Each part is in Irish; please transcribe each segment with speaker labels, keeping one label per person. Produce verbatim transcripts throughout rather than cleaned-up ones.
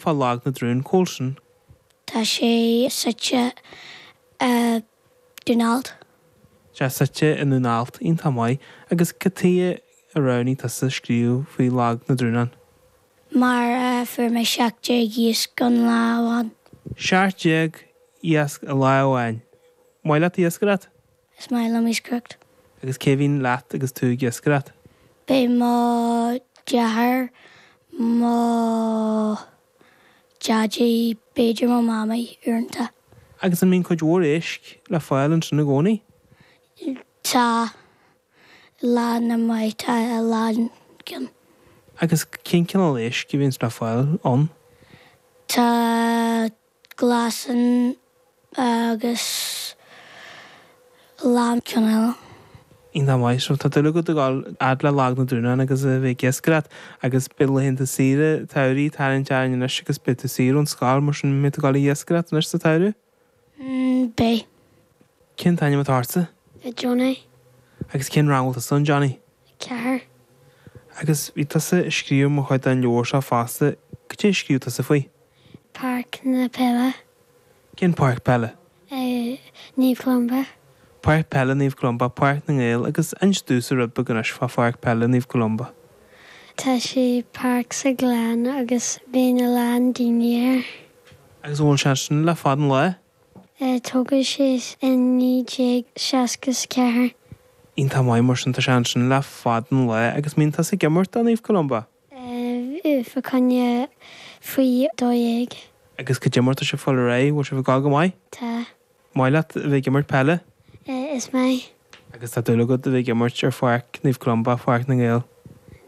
Speaker 1: fá Lag na dTrún, cá bhfuil sin?
Speaker 2: Tá sé suite i Dún Alt.
Speaker 1: Sé suite i nDún Alt, iontach maith. Agus cad chuige a roghnaigh tusa scríobh faoi Lag na dTrúnán?
Speaker 2: Mar fuair mé seacht déag iasc an lá amháin.
Speaker 1: Seacht déag iasc i lá amháin. Maith leat iascaireacht?
Speaker 2: Is maith liom iascaireacht.
Speaker 1: Agus cé bhíonn leat agus tú ag iascaireacht?
Speaker 2: Beidh mo dheartháir, mo dhaidí, b'fhéidir mo mhamaí uaireanta.
Speaker 1: Agus an mbíonn cuid mhór éisc le fáil ansin i gcónaí?
Speaker 2: Tá lá na maith tá a lán ceann.
Speaker 1: Agus cén cineál éisc a bhíonns le fáil ann?
Speaker 2: Tá glasán agus a lán ceann eile.
Speaker 1: Iontach maith, so tá dúil agat a ghabháil fhad le Lag na dTrúnán agus a bheith ag iascaireacht agus beidh laethanta saoire tsamhraidh ag tarraingt orainn anois agus beidh tú saor ón scoil mar sin mbeidh tú ag gabháil ag iascaireacht anois sa tsamhradh?
Speaker 2: Mm, beidh.
Speaker 1: Cén t-ainm atá ortsa?
Speaker 2: Johnny.
Speaker 1: Agus cén rang bhfuil tusa ann, Johnny?
Speaker 2: Ceathair.
Speaker 1: Agus bhí tusa ag scríobh mar chuid den leabhar seo fosta, cad é a scríobh tusa faoi?
Speaker 2: Páirc na peile.
Speaker 1: Cén páirc peile?
Speaker 2: Naomh Columba.
Speaker 1: Páirc Peile Naomh Columba, Páirc na nGael agus inis domhsa rud beag anois fá Pháirc Peile Naomh Columba.
Speaker 2: Tá sé páirc sa ghleann agus bíonn a lán daoine air.
Speaker 1: Agus an bhfuil sé sin le fada an lá?
Speaker 2: Tógadh sé in naoi déag seasca is ceathair.
Speaker 1: Iontach maith mar sin tá sé ansin le fada an lá agus mbíonn tusa ag imirt do Naomh Columba?
Speaker 2: Fá choinne faoi dó dhéag.
Speaker 1: Agus cad é mar tá sibh ag fáil ar aghaidh, bhfuil sibh ag gabháil go maith?
Speaker 2: Tá.
Speaker 1: Maith leat a bheith ag imirt peile?
Speaker 2: Is maith.
Speaker 1: Agus tá dúil agat a bheith ag imirt ar Pháirc Naomh Columba, Páirc na nGael?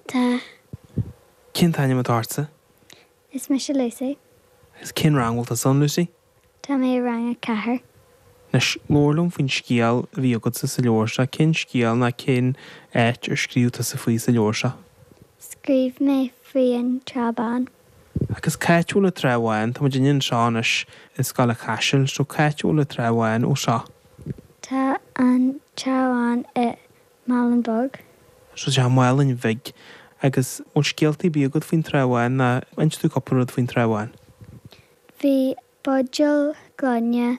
Speaker 2: Tá.
Speaker 1: Cén t-ainm atá ortsa?
Speaker 2: Is mise Lucy.
Speaker 1: Agus cén rang bhfuil tusa ann, Lucy?
Speaker 2: Tá mé i rang a ceathair.
Speaker 1: Anois, labhair liom faoin scéal a bhí agatsa sa leabhar seo. Cén scéal ná cén áit ar scríobh tusa faoi sa leabhar seo?
Speaker 2: Scríobh mé faoi an Trá Bhán.
Speaker 1: Agus cá háit a bhfuil an Trá Bhán? Tá muid anseo anois i Scoil an Chaisil, so cá háit a bhfuil an Trá Bhán ó seo?
Speaker 2: Tá an Trá Bhán i Málainn Bheag.
Speaker 1: So sé Málainn Bhig agus bhfuil scéaltaí ar bith agat faoin Trá Bhán ná inis domh cúpla rud faoin Trá Bhán.
Speaker 2: Bhí buidéal gloine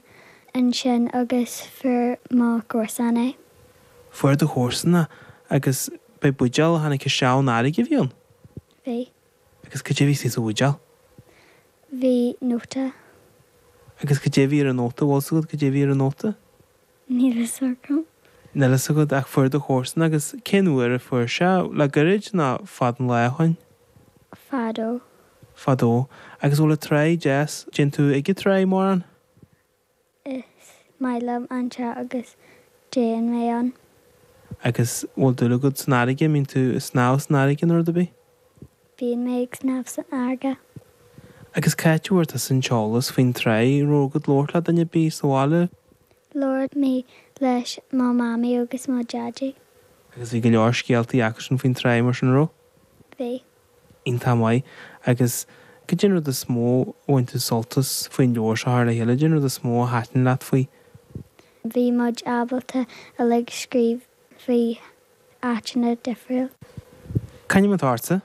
Speaker 2: ansin agus fuair mo chomharsan é.
Speaker 1: Fuair do chomharsan é agus b'é buidéal a tháinig isteach ón fharraige a bhí ann?
Speaker 2: Bhí.
Speaker 1: Agus cad é a bhí sa bhuidéal?
Speaker 2: Bhí nóta.
Speaker 1: Agus cad é a bhí ar an nóta bhfuil a fhios agat cad é a bhí ar an nóta?
Speaker 2: Níl a fhios agam.
Speaker 1: Níl a fhios agat ach fuair do chomharsan agus cén uair a fuair sé le gairid ná fada an lá ó shin?
Speaker 2: Fadó.
Speaker 1: Fadó. Agus bhfuil an trá deas dtéann tú ag an trá mórán?
Speaker 2: Is maith liom an trá agus téann mé ann.
Speaker 1: Agus bhfuil dúil agat san fharraige, mbíonn tú ag snámh san fharraige nó rud ar bith?
Speaker 2: Bíonn mé ag snámh san fharraige.
Speaker 1: Agus cá háit a bhfuair tusa an t-eolas faoin trá, raibh agat labhairt le duine ar bith sa bhaile?
Speaker 2: Labhair mé leis mo mhamaí agus mo dhaidí.
Speaker 1: Agus bhí go leor scéaltaí acusan faoin trá mar sin raibh?
Speaker 2: Bhí.
Speaker 1: Iontach maith. Agus cad é an rud is mó a bhain tú sult as faoin leabhar seo thar le chéile, cad é an rud is mó a thaitin leat faoi?
Speaker 2: Bhí muid ábalta uilig scríobh faoi áiteanna difriúil.
Speaker 1: Cén ainm atá ortsa?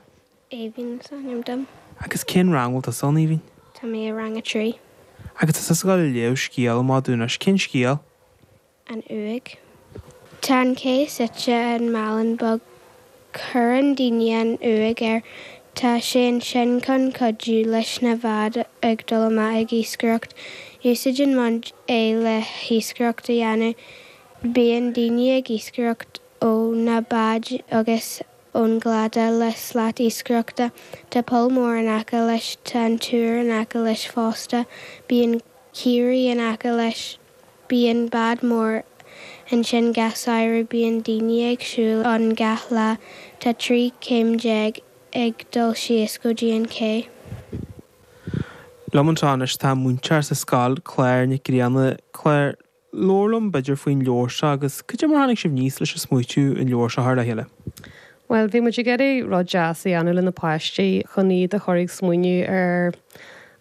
Speaker 3: Aoibhinn is ainm dom.
Speaker 1: Agus cén rang bhfuil tusa ann, Aoibhinn?
Speaker 3: Tá mé i rang a trí.
Speaker 1: Agus tá tusa ag gabháil a léamh scéal amach dúinn anois, cén scéal?
Speaker 3: An Uaigh. Tá an cé suite in Málainn Bheag. Cuireann daoine an uaigh air. Tá sé ansin chun cuidiú leis na báid ag dul amach ag iascaireacht. Úsáideann muid é le hiascaireacht a dhéanamh. Bíonn daoine ag iascaireacht ó na báid agus ón gcladach le slat iascaireachta. Tá poll mór in aice leis, tá an túr in aice leis fosta. Bíonn caoirigh in aice leis. Bíonn bád mór ansin gach samhradh, bíonn daoine ag siúl ann gach lá. Tá trí chéim déag ag dul síos go dtí an ché.
Speaker 1: Liom anseo anois tá múinteoir sa scoil, Claire Nic Grianna. Claire, labhair liom b'fhéidir faoin leabhar seo agus cad é mar tháinig sibh aníos leis an smaoitiú an leabhar seo a chur le chéile?
Speaker 4: Well, bhí muid ag iarraidh rud deas a dhéanamh le na páistí chun iad a chur ag smaoineamh ar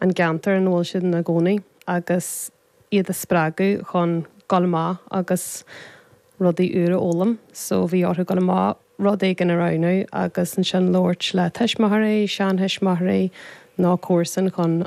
Speaker 4: an gceantar ina bhfuil siad ina gcónaí agus iad a spreagadh chun dul amach agus rudaí úra a fhoghlaim. So bhí orthu dul amach rud éigin a roghnú agus ansin labhairt le tuismitheoirí, seantuismitheoirí nó comharsan chun